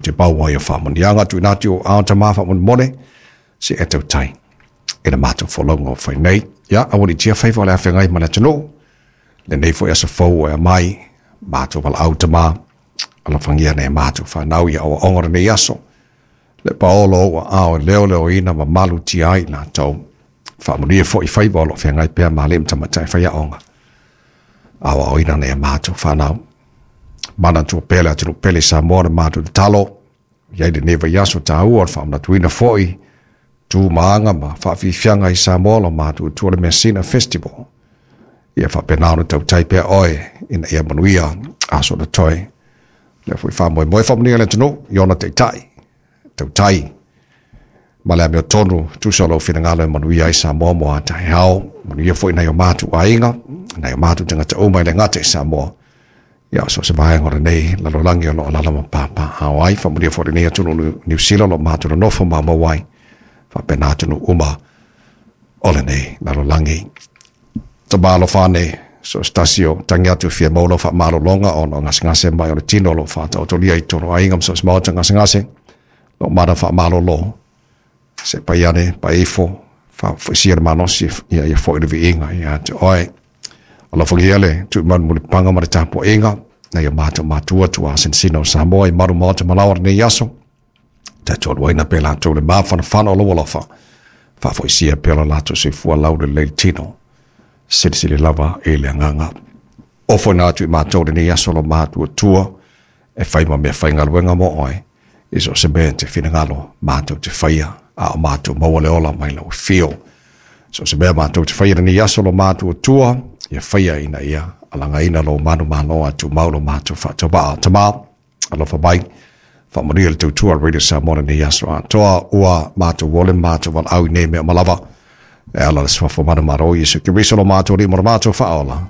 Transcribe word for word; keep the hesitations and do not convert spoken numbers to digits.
Te paua ia whaamanianga tu inati o ao ta maa whaamonemone se e tau tai. E na mātou wholonga o whai nei. Ia, awali tia whaifa o le awhengai ma le atunuu. Lenei foi aso fou e mai, mātou wala au ta maa. Alofagia nei mātou whanau ia aoaoga o lenei aso. Le paolo ua ao e leo leo ina ma malu tia ai latou. Faamanuia foi faiva o lo o feagai pea ma alii ma tamaitai faiaoga. Aoaoina nei mātou whanau. Manatua pea le atunuu pele Samoa na matou tatalo. Iai lenei vaiaso tāua o le faamanatuina foi tu ma aga ma faafiafiaga i Samoa lo matou tua le Measina Festival. Ia faapena ona tautai pea oe ina ia manuia aso totoe. Lea foi faamoemoe faamanuia le atunuu i ona taitai. Tautai ma le amiotonu tusa o lou finagalo e manuia ai Samoa mo a taeao. Manuia foi nai o matou aiga, nai o matou tagata uma e le gata i Samoa. Ia so se vaega o lenei lalolagi o lo o alaala ma papaaao ai. Faamanuia foi lenei atunuu Niu Sila o lo o matou nonofo maumau ai. Faapena atunuu uma o lenei lalolagi. Tama alofa ane, so se tasi o tagi atu e fia maua lau faamalologa ona o gasegase mai o le tino o lo o faataotolia i totonu o aiga ma so o se maota gasegase. Lo mana faamalolo se pai ane pai ifo faafoisia le malosi ia ia foi le viiga ia te oe. Alofagia le tuumanu mulipaga ma le tapuaiga nai o matou matua tuasinasina o Samoa i malu maota ma laoa lenei aso. Tatou aluaina pea latou le mafanafana o lou alofa. Faafoisia pea lo latou soifua laulelei le tino. Silisili lava i le agaga. Ofoina atu i matou lenei aso lo matuatua e fai ma mea faigaluega mo oe. I so o se mea e te finagalo matou te faia, a o matou maua le ola mai lau afio. So o se mea matou te faia lenei aso lo matuatua, ia faia ina ia alagaina lou manumalo a tumau lo matou faatauvaa. Tama, alofa mai, faamanuia le tautua a le Radio Samoa lenei aso atoa, ua matou ole ma matou valaau i nei mea uma lava. E ala i le suafa manumalo o Iesu Keriso lo matou Alii ma lo matou Faaola.